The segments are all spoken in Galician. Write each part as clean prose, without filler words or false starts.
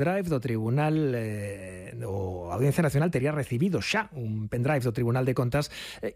Drive do Tribunal o Audiencia Nacional tería recibido xa un pendrive do Tribunal de Contas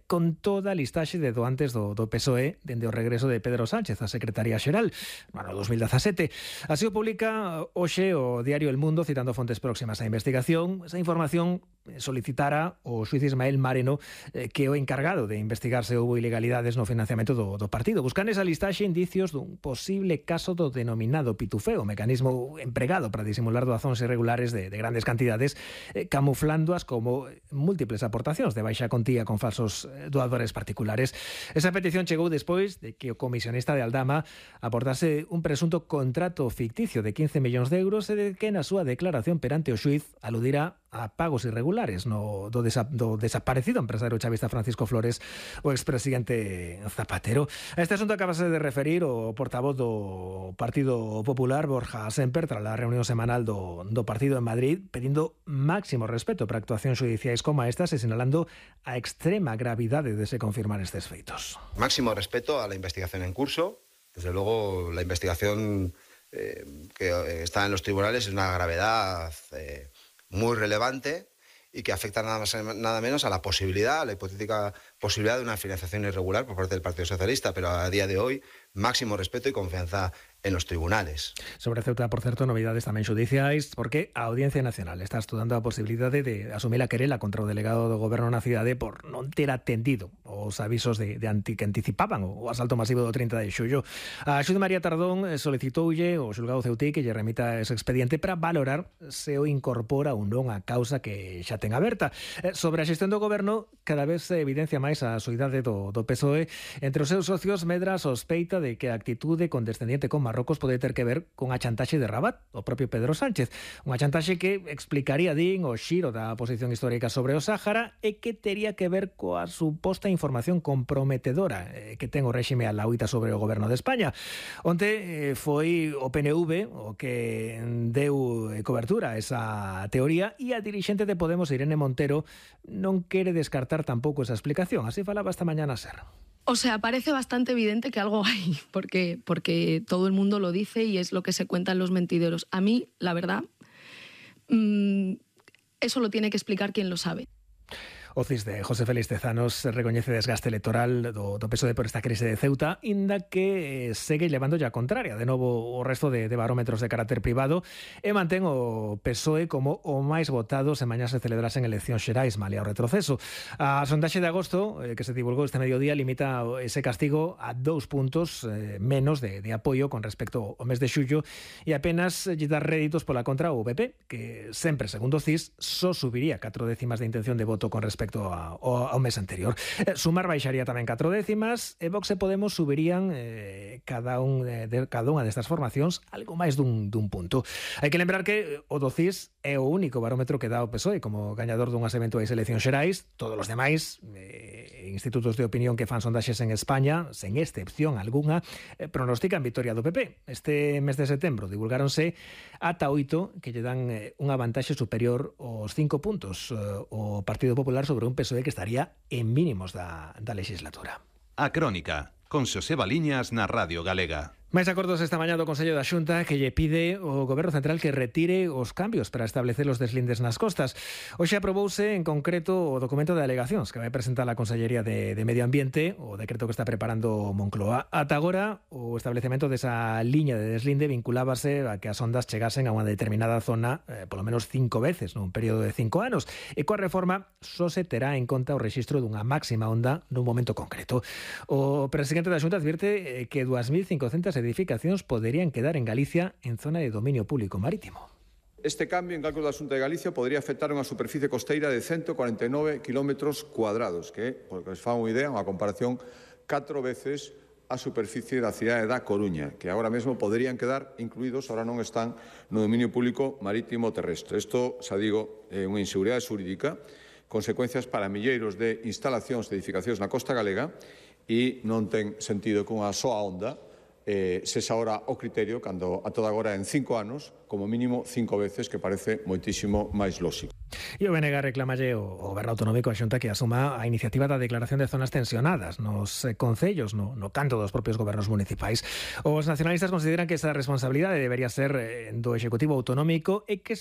con toda a listaxe de doantes do PSOE dende o regreso de Pedro Sánchez a Secretaría Xeral no ano 2017. Así o publica hoxe o diario El Mundo, citando fontes próximas á investigación. Esa información solicitara o xuiz Ismael Mareno, que é o encargado de investigar se houbo ilegalidades no financiamento do partido. Buscan esa listaxe indicios dun posible caso do denominado pitufeo, mecanismo empregado para disimular doazóns irregulares de grandes cantidades, camuflándoas como múltiples aportacións de baixa contía con falsos doadores particulares. Esa petición chegou despois de que o comisionista de Aldama aportase un presunto contrato ficticio de 15 millóns de euros e de que na súa declaración perante o xuiz aludira a pagos irregulares do desaparecido empresario chavista Francisco Flores, o expresidente Zapatero. A este asunto acabase de referir o portavoz do Partido Popular, Borja Semper, tras a reunión semanal do partido en Madrid, pedindo máximo respeto para actuacións xudiciais como estas e sinalando a extrema gravidade de se confirmar estes feitos. Máximo respeto a la investigación en curso. Desde luego, la investigación que está en los tribunales es una gravedad muy relevante y que afecta nada más nada menos a la posibilidad, a la hipotética posibilidad de una financiación irregular por parte del Partido Socialista, pero a día de hoy máximo respeto y confianza en los tribunales. Sobre Ceuta, por certo, novidades tamén xudiciais, porque a Audiencia Nacional está estudando a posibilidade de asumir a querela contra o delegado do Goberno na cidade por non ter atendido os avisos que anticipaban o asalto masivo do 30 de xullo. A xuíz María Tardón solicitoulle ao xulgado ceutí que lle remita ese expediente para valorar se o incorpora ou non a causa que xa ten aberta. Sobre a xestión do Goberno, cada vez se evidencia máis a soidade do PSOE. Entre os seus socios medra sospeita de que a actitude condescendiente con Marrocos pode ter que ver con a chantaxe de Rabat, o propio Pedro Sánchez. Unha chantaxe que explicaría, din, o xiro da posición histórica sobre o Sáhara e que tería que ver coa suposta información comprometedora que ten o réxime a lauita sobre o goberno de España. Onte foi o PNV o que deu cobertura a esa teoría e a dirixente de Podemos, Irene Montero, non quere descartar tampouco esa explicación. Así falaba esta mañana SER. O sea, parece bastante evidente que algo hay, porque todo el mundo lo dice y es lo que se cuenta en los mentideros. A mí, la verdad, eso lo tiene que explicar quien lo sabe. O CIS de José Félix Tezanos recoñece desgaste electoral do PSOE por esta crise de Ceuta, inda que segue levando a contraria de novo o resto de barómetros de carácter privado e mantén o PSOE como o máis votado se mañá se celebrasen eleccións xerais, malia o retroceso. A sondaxe de agosto, que se divulgou este mediodía, limita ese castigo a 2 puntos menos de apoio con respecto ao mes de xullo e apenas lle dá réditos pola contra o PP, que sempre, segundo o CIS, só subiría 4 décimas de intención de voto con respecto ao mes anterior. Sumar baixaría tamén 4 décimas e Vox e Podemos subirían cada unha destas formacións algo máis dun punto. Hai que lembrar que o do CIS é o único barómetro que dá o PSOE como gañador dunhas eventuais eleccións xerais. Todos os demais institutos de opinión que fan sondaxes en España, sen excepción algunha, pronostican victoria do PP. Este mes de setembro divulgáronse ata 8 que lle dan unha vantaxe superior aos 5 puntos o Partido Popular sobre un PSOE que estaría en mínimos da legislatura. A Crónica, con Xosé Baliñas na Radio Galega. Máis acordos esta mañá do Consello da Xunta que lle pide ao Goberno Central que retire os cambios para establecer os deslindes nas costas. Hoxe aprobouse en concreto o documento de alegacións que vai presentar a Consellería de Medio Ambiente, o decreto que está preparando Moncloa. Ata agora, o establecemento desa liña de deslinde vinculábase a que as ondas chegasen a unha determinada zona polo menos 5 veces nun período de 5 anos. E coa reforma só se terá en conta o rexistro dunha máxima onda nun momento concreto. O presidente da Xunta advirte que 2.500 edificacións poderían quedar en Galicia en zona de dominio público marítimo. Este cambio en cálculo da Xunta de Galicia podría afectar unha superficie costeira de 149 km cuadrados, que, porque os fan unha idea, unha comparación 4 veces a superficie da cidade da Coruña, que agora mesmo poderían quedar incluídos, ahora non están no dominio público marítimo terrestre. Isto, xa digo, é unha inseguridade xurídica, consecuencias para milleiros de instalacións de edificacións na costa galega e non ten sentido que unha soa onda sexa ahora o criterio cando a toda agora en 5 anos, como mínimo 5 veces, que parece moitísimo máis lóxico. E o BNG reclamalle ao Goberno Autonómico a Xunta que asuma a iniciativa da declaración de zonas tensionadas nos concellos, no canto dos propios gobernos municipais. Os nacionalistas consideran que esa responsabilidade debería ser do Executivo Autonómico e que